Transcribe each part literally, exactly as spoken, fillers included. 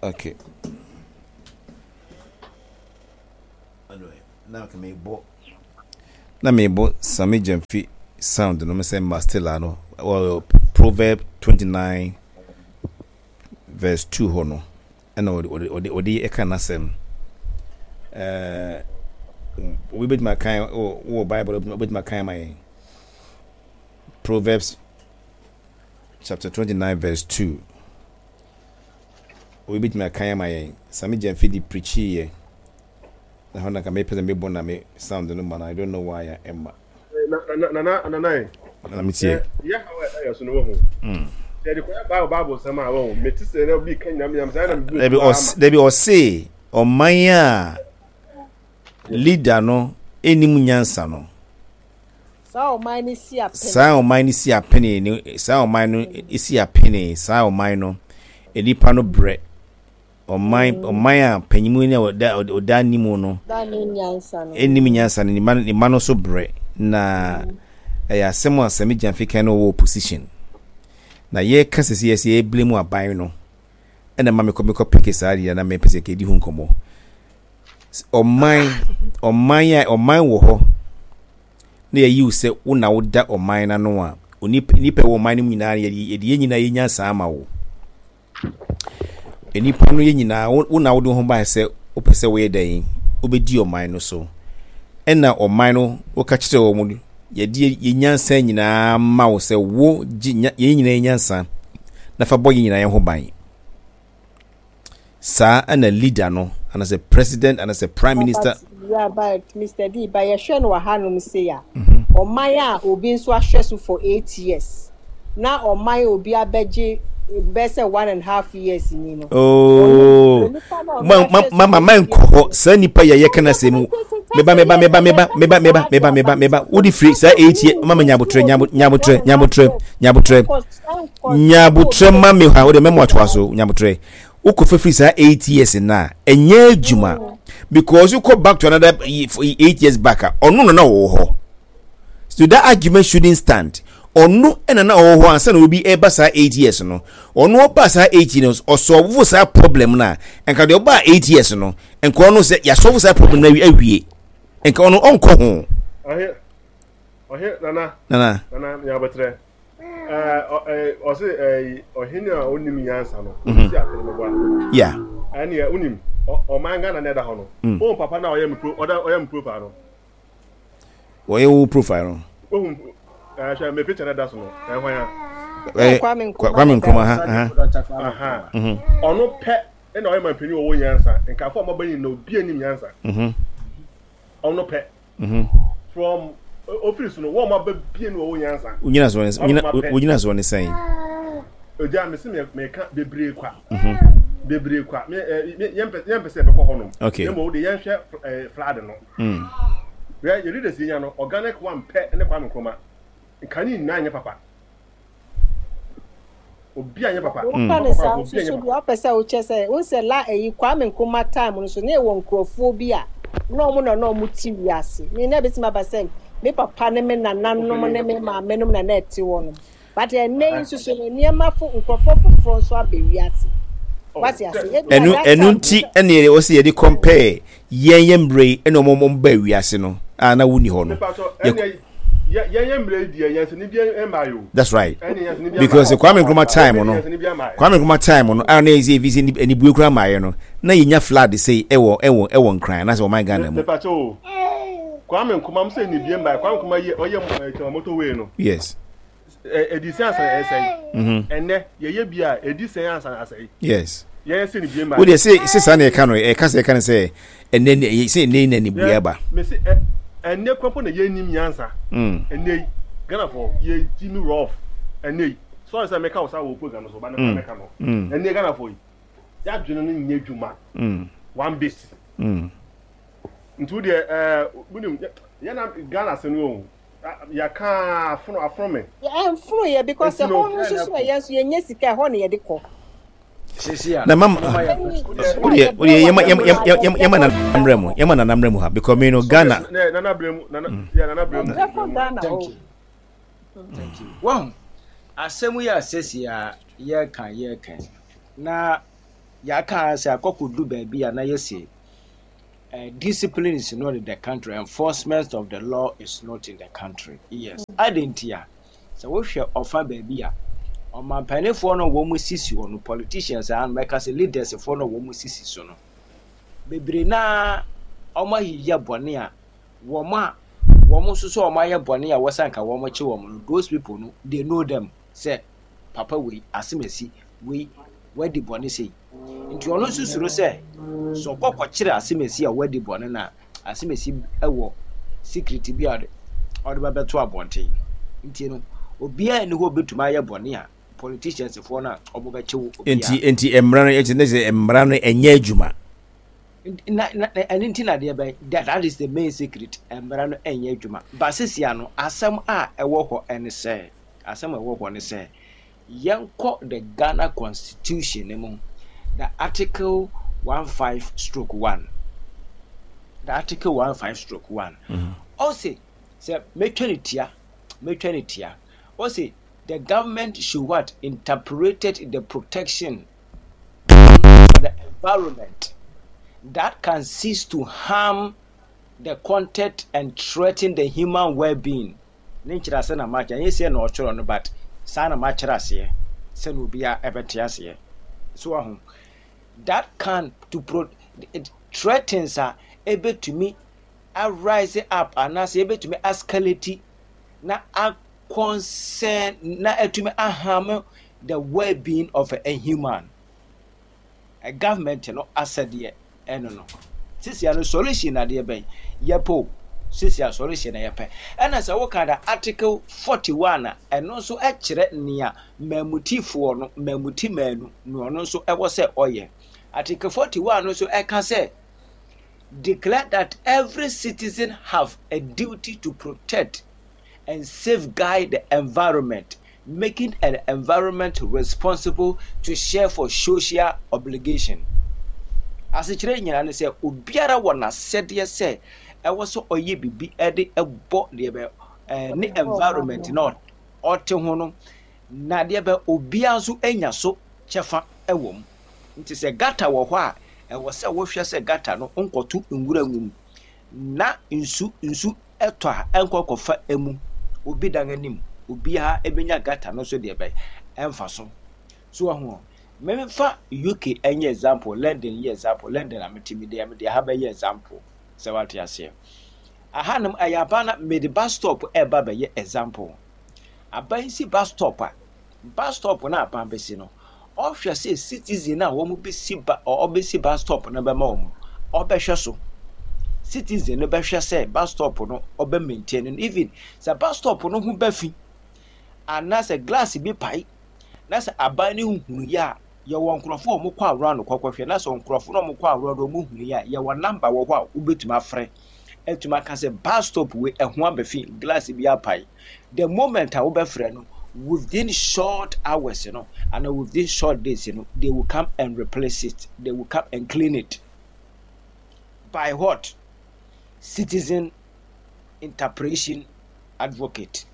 Okay, na mebɔ na mebɔ Sammy Gyamfi sound no sɛ Mastela no wɔ Proverb twenty nine verse two hɔ no, ɛna ɔde ɔde ɔde ɔde ɛka n'asɛm. ɛɛ obi bɛtumi akan wɔ wɔ Bible, obɛtumi akan ma yɛn Proverbs chapter twenty nine verse two. Obi bɛtumi akan ama yɛn. Sammy Gyamfi de preachi yɛ na hɔ na ka mepɛ sɛ mebɔ na me sound no ma no. I don't know why a ɛma. Na na na na na na metie. Yɛ ha wɔ ɛyɛ so no wɔ ho. Yɛde kɔyɛ Bible Bible sɛm a wɔ ho. Mete sɛ na obi ka nyam nyam saa na mebu. Dabi, ɔs dabi, ɔse ɔman a leader no ɛnim nyansa no, saa ɔman no si apene. Saa ɔman no si apene ne saa ɔman no si apene, saa ɔman no nipa no brɛ. Ɔman ɔman a panyimu ne ɔda ɔda anim no da ne nyansa no ɛnim nyansa no, ne ma ne ma no so brɛ. Na ɛyɛ asɛm a Sammy Gyamfi kan no wɔ opposition na yɛka sɛ sɛ yɛsɛ yɛblame mu aban no, ɛna ma mekɔ mekɔ peke saa deɛ na mepɛ sɛ kɛdi ho nkɔmmɔ. ɔman ɔman a ɔman wɔ hɔ na yɛyi wo sɛ wo na woda ɔman no ano a, onipa nipa wɔ ɔman no mu nyinaa, yɛde yɛde yɛn nyinaa yɛ nyansa ama wo. Nipa no yɛ nyinaa, wo na wode wo ho bae sɛ wopɛ sɛ woyɛ dɛn, wobɛdi ɔman no so, ɛna ɔman no woka kyerɛ wɔn, yɛde yɛn nyansa nyinaa ma wo sɛ wo gye yɛn nyinaa yɛ nyansa na fa bɔ yɛn nyinaa yɛn ho ban. Saa ɛna leader no anaasɛ president anaasɛ prime minister. Yeah, but Mister D, but yɛhwɛ no wɔ hanom sei a, ɔman a obi nso ahwɛ so for eight years na ɔman a obi abɛgye bɛyɛ sɛ one and a half years ni no. Oh, ma ma ma ma ma nkɔ hɔ. Saa nipa yɛ yɛka na sɛ mu meba meba meba meba meba meba meba meba meba wode firi saa eight years. Mama, nyabotrɛ, nyabotrɛ, nyabotrɛ, nyabotrɛ, nyabotrɛ ma me ha. Wode mɛmo atoa so. Nyabotrɛ, wokɔ fɛfiri saa eight years na ɛnyɛ adwuma because wokɔ back to another eight years back a, ɔno na na ɔwɔ hɔ, so that argument shouldn't stand. Ɔno ɛna na ɔwɔ hɔ ansa na obi ɛba saa eight years no. Ɔno ɔba saa eight years, ɔsolve saa problem na nka deɛ ɔba eight years no, nka ɔno sɛ yɛasolve saa problem na awie, nka ɔno ɔnkɔ ho. Ɔhe ɔhe nana. Nana. Nana nyabotrɛ, ɛɛ ɔse ɛɛ ɔhene a onim nyansa no osi apere no boa. Yeah ɛneɛ onim ɔman Ghana na ɛda hɔ no. Ohun papa na ɔyɛ mi pro ɔda ɔyɛ mi profile no. Wɔyɛ wo profile no. Ohun ɛɛ hwɛ me picture na ɛda so no, ɛhwan a? Ɛɛ Kwame Nkrumah. Kwame Nkrumah ha ha. Ɔno pɛ ɛna ɔyɛ mampanyin wɔ nyansa nkafo a ɔmaba nyina obi anim nyansa. Ɔno pɛ from ofiri so no, wɔn a ɔmaba bie no wɔ nyansa. Wogyina so ne wogyina so ne sɛn? Ogya me se me meka bebree kwa, bebree kwa. Me ɛ yɛn pɛ yɛn pɛ sɛ ɛbɛkɔ hɔ nom. Okay. Yɛn mo de yɛn hwɛ ɛɛ flood no. Yɛ yɛ leaders yɛn no, organic one pɛ ne Kwame Nkrumah. Nkane nyinaa nyɛ papa, obi a nyɛ papa. Woka ne saa nso so deɛ, wopɛ sɛ wokyɛ sɛ wo sɛ la ɛyi Kwame Nkrumah time no so na ɛwɔ nkurɔfoɔ bi a na ɔmo na na ɔmo te wiase me na ebɛtumi aba sɛ me papa ne me nananom ne me maame nom na na ɛte hɔ nom, but ɛnɛ yi nso so no, nneɛma fo nkurɔfoɔ foforɔ nso aba wiase, wate ase? Ɛnu ɛnu nti ɛna yɛ wɔsi yɛde compare yɛn yɛn mmerɛ yi ɛna ɔmo ɔmo ba wiase no a na wuni hɔ no. Yɛn yɛn mmerɛ yi deɛ, yɛn sɛ ni bi mmaa yi o. That's right, because Kwame Nkrumah time no Kwame Nkrumah time no a na yɛ sɛ efi sɛ anibue kura maa yɛ no, na yɛnya flood sei ɛwɔ ɛwɔ ɛwɔ Nkran anaasɛ ɔman Ghana mu. Mepakyɛ o, Kwame Nkrumah mo sɛ nibue mmaa, Kwame Nkrumah yɛ ɔyɛ ɛɛ motorway no. Yes. Ɛdi sɛn ansa ɛsɛe? Ɛnɛ yɛyɛ bi a, ɛdi sɛn ansa asɛe? Yes. Yɛyɛ sɛ nibue mmaa. O deɛ, sɛ sɛ saa na yɛka no, ɛka sɛ yɛka no sɛ ɛnɛ sɛ ɛnɛ na nibue aba. Mesi ɛ ɛnɛ kwan na yɛnim nyansa. Ɛnɛ yi Ghanafoɔ yɛgyi mi rough ɛnɛ yi. Sorry sɛ meka wo saa wɔ program so ba ne kwan mɛka no. Ɛnɛ Ghanafoɔ yi yɛadwene no nyɛ adwuma one bit. Nti wo deɛ ɛɛ wunim yɛn na Ghana se no o, yɛka afono afono me. Ɛnfono yɛ because ɛhɔ no nso so ɛyɛ nso yɛnyɛ sika, ɛhɔ na yɛde kɔ. Na mama, wodeɛ wodeɛ yɛma yɛma yɛma nana mmerɛ mu, yɛma nana mmerɛ mu ha because me no Ghana. Nana brɛ mu, nana yɛ nana brɛ mu. Ɛbɛkɔ Ghana Thank hɔ. you, thank you. Wɔn asɛm yi a sɛsi a yɛreka yɛreka yi na Yɛaka sɛ akɔkɔdu baabi a na yɛsi uh, discipline is not in the country, enforcement of the law is not in the country. Yes. Adɛn nti a sɛ wohwɛ ɔfa baabi a ɔmampanifoɔ no a wɔn sisi hɔ no, politicians a mɛka sɛ leaders foɔ no a wɔn sisi so no, bebree naa wɔn ayiyɛ bɔne a wɔn a wɔn nso so wɔn ayɛ bɔne a wɔsan ka wɔn kye wɔn no, those people no, they know them sɛ papa wei, asemasi wei, wadi bɔne sei. Nti ɔno nso suro sɛ sɛ ɔkɔ kɔkyerɛ asemasi a wadi bɔne no a, asemasi wɔ secret bi a ɔde ɔde bɛbɛto abɔnten. Nti no, obiara nni hɔ obɛtumi ayɛ bɔne a politicians foɔ no a ɔmo bɛkye wo. Nti nti mmara no nti ne sɛ mmara no ɛnyɛ adwuma. Na na ɛno nti na deɛ bɛn, that that is the main secret. Mmara no ɛnyɛ adwuma ba sesia no. Asɛm a ɛwɔ hɔ ɛne sɛ, asɛm a ɛwɔ hɔ ne sɛ, yɛnkɔ the Ghana Constitution ne mu, the article one five stroke one, the article one five stroke one. Ɔse sɛ mɛtwa ne tia, mɛtwa ne tia, ɔse the government should what? Interpreted the protection for the environment that can cease to harm the content and threaten the human well-being. Ne nkyerɛ ase na makyerɛ, ɛnyɛ sɛ na ɔtwerɛ no, but saa na makyerɛ aseɛ sɛna obiara ɛbɛte aseɛ so aho. That can to pro it threatens a ebetumi arise up anaasɛ ebetumi escalate na a concern na etumi aharm the well-being of a human. A government no asɛdeɛ ɛno no sisia no solution adeɛ bɛn yɛpɛ o? Sisia solution na yɛpɛ. Ɛna sɛ woka da article forty-one a, ɛno nso kyerɛ nea mmamutifoɔ no, mmamuti mmaanu na ɔno nso ɛwɔ sɛ ɔyɛ. Article forty-one no nso ɛka sɛ declare that every citizen have a duty to protect and safeguard the environment, making an environment responsible to share for social obligation. Asekyerɛ nyinaa ne sɛ obiara wɔ n'asɛdeɛ sɛ ɛwɔ sɛ ɔyɛ biribi ɛde ɛbɔ deɛ bɛ ɛɛ ne environment na ɔte ho no, na deɛ bɛ obiara nso anya so kyɛfa ɛwɔ mu. Nti sɛ gutter wɔ hɔ a, ɛwɔ sɛ wohwɛ sɛ gutter no nkɔto nwura ngu mu na nsu nsu ɛtɔ a ɛnkɔ kɔfa emu obi dan anim. Obiara ebenya gutter no so deɛ bɛ ɛmfa so so ɔho. Mmɛmfa U K ɛnyɛ example, London yɛ example. London a mete mi deɛ, mede ha bɛyɛ example sɛ wate aseɛ. Ahanom ɛyɛ aban na mede bus stop ɛba bɛyɛ example. Aban si bus stop a, bus stop na aban bɛsi no, ɔhwɛ sɛ citizen a wɔn bɛsi ba, ɔbɛsi bus stop no bɛma wɔn, ɔbɛhwɛ so. Citizen no bɛhwɛ sɛ bus stop no ɔbɛ maintain no. Even sɛ bus stop no ho bɛ fi anaasɛ glass bi pae na sɛ aban no hunu yɛ a, yɛwɔ nkurɔfoɔ a wɔkɔ aworɔ no kɔkɔhwɛ. Na sɛ nkurɔfoɔ no a wɔkɔ aworɔ no wɔn hunu yɛ a, yɛwɔ number wɔ hɔ a wobɛtumi afrɛ atumi aka sɛ bus stop wei ɛho abɛfi, glass bi apae. The moment a wobɛfrɛ no, within short hours no and within short days no, they will come and replace it, they will come and clean it. By what? Citizen interpretation advocate.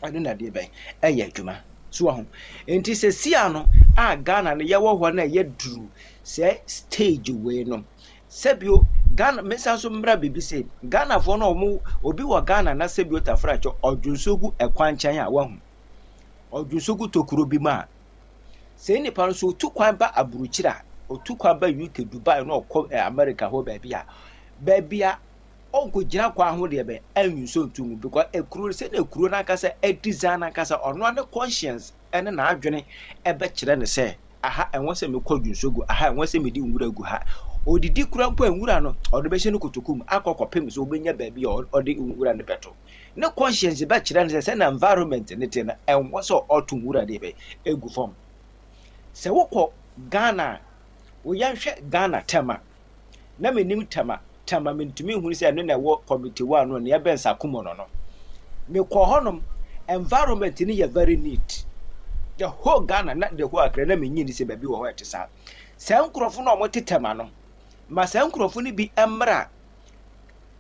Ɛno na deɛ bɛn ɛyɛ adwuma so aho. Nti sɛ sia no a Ghana no yɛwɔ hɔ no a yɛduru sɛ stage wei no, sɛbio Ghana mesa so mmra biribi sɛ Ghanafoɔ no, ɔmo obi wɔ Ghana na sɛbio tafrakyɛ ɔdwonso gu ɛkwan nkyɛn a, wahu ɔdwonso gu tokuro bi mu a, sɛ nipa no so otu kwan ba aburukyire a, otu kwan ba U K, Dubai na ɔkɔ ɛ America hɔ baabi a baabi a ɔnkɔgyina kwan ho deɛ bɛn ɛnwonso ntu mu, because ekuro sɛdeɛ ekuro n'ankasa ɛdesign n'ankasa, ɔno ne conscience ɛne n'adwene ɛbɛkyerɛ ne sɛ aha ɛwɔ sɛ mekɔ dwonso gu aha, ɛwɔ sɛ mede nwura gu ha. Odidi kura mpo a, nwura no ɔde bɛhyɛ no kotoku mu akɔ kɔpem sɛ ɔbɛnya baabi a ɔde nwura no bɛto. Ne conscience bɛkyerɛ no sɛ sɛ environment ne te no, ɛnwɔ sɛ ɔto nwura deɛ bɛ egu fam. Sɛ wokɔ Ghana a, woyɛnhwɛ Ghana Tɛma na menim Tɛma. Tɛma mentumi nhunu sɛ ɛno na ɛwɔ committee one no nea ɛbɛn Sakumo no no mekɔ hɔnom, environment no yɛ very neat. The whole Ghana na the whole Accra na menyi ni sɛ baabi wɔ hɔ ɛte saa. Saa nkurɔfo no a wɔte Tɛma no, ma saa nkurɔfo no bi mmra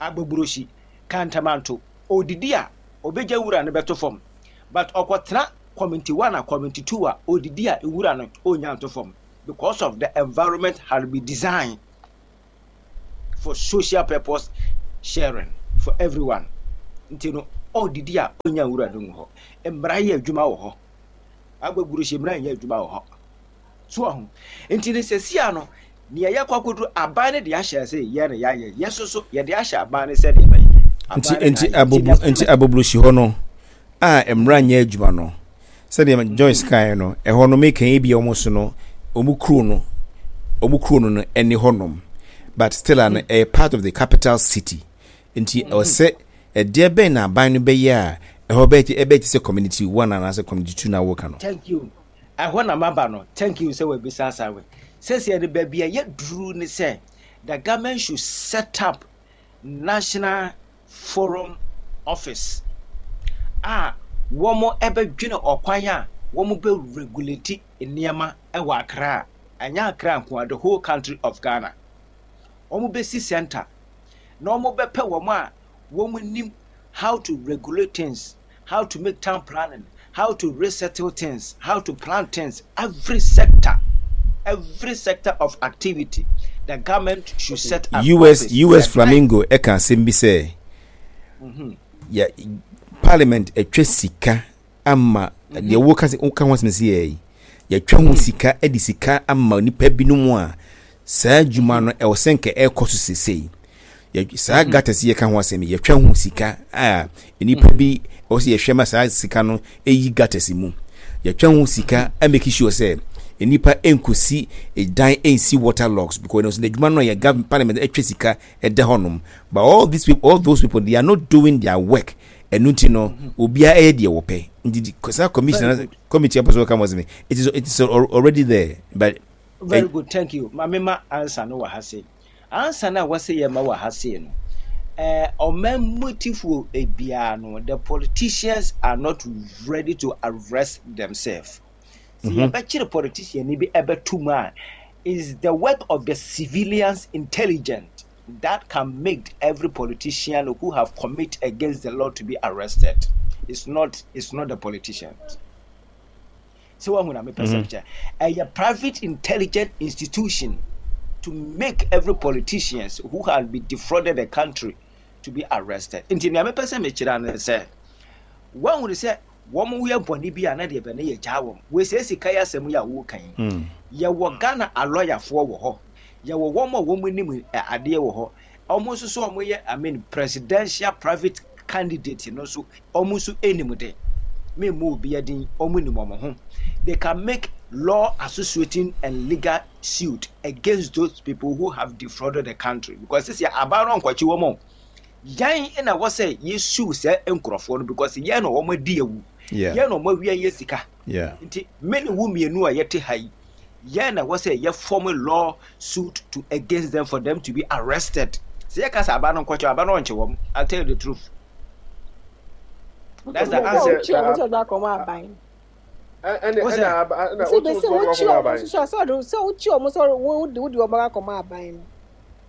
Agbogbloshie, Kantamanto, odidi a obɛgya wura no bɛto fam, but ɔkɔtena community one a community two a, odidi a nwura no ɔnya nto fam. because of the environment has been designed for social purpose sharing for everyone. Nti no ɔdidi a ɔnya nwura no ngu hɔ. Mmara yɛ adwuma wɔ hɔ. Agbogbloshie mmara nyɛ adwuma wɔ hɔ. So ɔho nti ne sɛsia no nea yɛkɔ akɔduru, aban no de ahyɛ sɛ yɛ ne yɛayɛ, yɛ so so yɛde ahyɛ aban no sɛdeɛ bɛyɛ. Nti nti agbogbo nti Agbogbloshie hɔ no a mmara nyɛ adwuma no, sɛdeɛ Joyce kaeɛ no, ɛhɔ no meka yi bi a wɔn so no, wɔn kuro no wɔn kuro no no ɛne hɔnom, but still ano ɛyɛ part of the capital city. Nti ɛwɔ sɛ ɛdeɛ bɛn na aban no bɛyɛ a ɛhɔ bɛyɛ ɛbɛyɛ te sɛ community one anaasɛ community two na wɔka no? Thank you. Ɛhɔ na maba no. Thank you sɛ wabisa asa wei. Sɛsɛ no baabi a yɛduru ne sɛ the government should set up national forum office a wɔn ɛbɛdwene ɔkwan a wɔn bɛ regulate nneɛma ɛwɔ Accra. Ɛnyɛ Accra nko a, the whole country of Ghana. Wɔn bɛsi center na wɔn bɛpɛ wɔn a wɔn nim how to regulate things, how to make town planning, how to resettle things, how to plan things, every sector, every sector of activity, the government should set up U S office. U S Flamingo ɛka asɛm bi sɛ yɛ parliament atwa sika ama deɛ woka sɛ woka ho asɛm sɛ yɛ yi, yɛtwa ho sika de sika ama nipa binom a saa adwuma no ɛwɔ sɛ nka ɛrekɔ so sesei. Yɛ- saa gutters yi yɛka ho asɛm yi, yɛtwa ho sika a nipa bi ɛwɔ sɛ yɛhwɛ ma saa sika no ɛyi gutters mu. Yɛtwa ho sika a make sure sɛ nipa nkosi dan nsi water logs because ɛno nso n'adwuma no a yɛ government parliament atwa sika ɛda hɔnom, but all these people, all those people, they are not doing their work. Ɛno nti no obiara ɛyɛ deɛ wɔpɛ. Nti di- saa commission, committee apɔ so wɔka mo asɛm yi, it is it is already there, but Very good, thank you. Maame, ma answer no wɔ ha sei. Answer no a wɔsɛ yɛ ma wɔ ha sei no, ɛɛ ɔman mutifoɔ ebiara no, the politicians are not ready to arrest themselves. Sɛ yɛbɛkyere politician ni bi ɛbɛto mu a, is the work of the civilians intelligent that can make every politician who have commit against the law to be arrested. It's not it's not the politicians. Sɛ wahu na mepɛ sɛ kyɛ ɛyɛ private intelligent institution to make every politicians who have been defrauded the country to be arrested. Nti nea mepɛ sɛ mekyerɛ no sɛ wahu sɛ wɔn yɛ bɔne bi a na deɛ bɛne yɛ gyaa wɔn wɔsɛ sika yɛ asɛm yi a wɔka yi, yɛwɔ Ghana alɔyafoɔ wɔ hɔ, yɛwɔ wɔn a wɔn anim adeɛ wɔ hɔ. Wɔn nso so wɔn yɛ, I mean, presidential private candidate no nso, wɔn nso anim de mímu obi adin, wɔn nim wɔn ho. They can make law associating and legal suit against those people who have defrauded the country because sisi aban no nkɔkye wɔn o, yɛn na wɔ sɛ yɛsu sɛ nkurɔfoɔ no because yɛn na wɔn adi awu, yɛn na wɔn awia yɛ sika. Nti me ne wo mmienu a yɛte ha yi, yɛn na wɔ sɛ yɛ form law suit to against them for them to be arrested. Sɛ yɛka sɛ aba no nkɔkyɛ, aba no ɔnkye wɔn. I tell you the truth, that's the answer. Wokyi ɔmo sɛ ɔde akɔma aban. Ɛne ɛna ɛna sɛ bɛsɛ wokyi ɔmo nso sɛ ɔde sɛ wokyi ɔmo sɛ wode wode ɔmo akɔma aban no.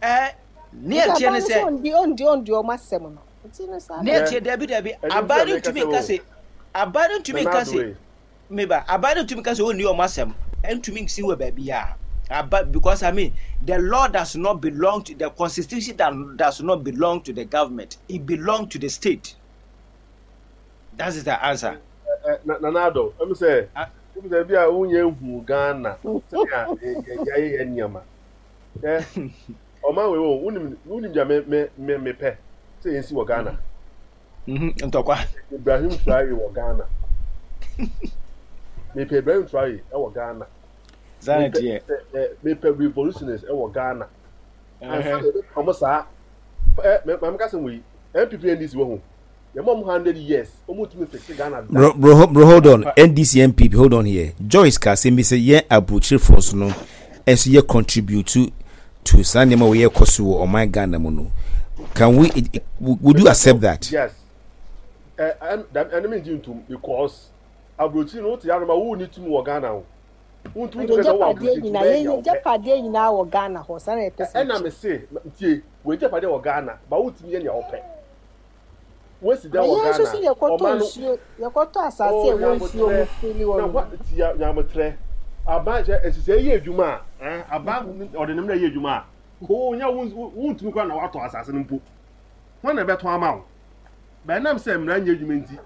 Ɛɛ ne ɛteɛ ne sɛ ɔndi ɔndi ɔndi ɔmo asɛm no nti no saa. Ne ɛteɛ, dabi dabi, aban no ntumi nka sɛ aban no ntumi nka sɛ meba aban no ntumi nka sɛ ɔnni ɔmo asɛm, ntumi nsi wɔ baabi a aba because, I mean, the law does not belong to the constitution, that does not belong to the government, it belong to the state. That is the answer. Nana Ado, ɛmu sɛ ɛmu sɛ bi a wonyɛ nhu Ghana sɛnea yɛayɛ yɛ nneɛma ɛ ɔman wei wɔ wonim wonim deɛ me me me mepɛ sɛ yɛnsi wɔ Ghana. Ntɔkwa. Ibrahim Traore wɔ Ghana. Mepɛ Ibrahim Traore ɛwɔ Ghana. Saa deɛ. Mepɛ revolutionaries ɛwɔ Ghana. Ansa na yɛbɛka ɔmo saa ɛ maame kasa mu yi, N P P N D C wɔ ho, yɛma ɔmo hundred years, ɔmo tumi fix Ghana da. Bro, bro, bro, hold on. N D C N P P, hold on here. Joyce ka asɛm bi sɛ yɛn aburokyerefoɔ so no ɛnso yɛ contribute to to saa nneɛma a wɔyɛ kɔ so wɔ ɔman Ghana mu no. Can we, would you accept that? Yes. Ɛ ɛ ɛno mi ngye ntum because aburokyiri no wote anoma wo ni tumi wɔ Ghana o. Wontumi ntumi kɛ sɛ wowɔ aburokyiri tumi bɛyɛ nea wopɛ. Yɛgyapadeɛ nyinaa wɔ Ghana hɔ saa na yɛpɛ sɛ. Ɛna me se tie, wɔ agyapadeɛ wɔ Ghana ba wotumi yɛ nea wopɛ. Wosi dan wɔ Ghana. Yɛn nso so yɛkɔtɔ nsuo, yɛkɔtɔ asase a ɛwɔ nsuo mu firi wɔ no. Tia nyametrɛ Aban sɛ nhyehyɛe yɛ adwuma a, eh, aban ɔde ne mmara yɛ adwuma a, koo nya wontumi koraa na watɔ asase no mpo. Hwan na ɛbɛtɔn ama wo? Bɛnam sɛ mmara nyɛ adwuma nti,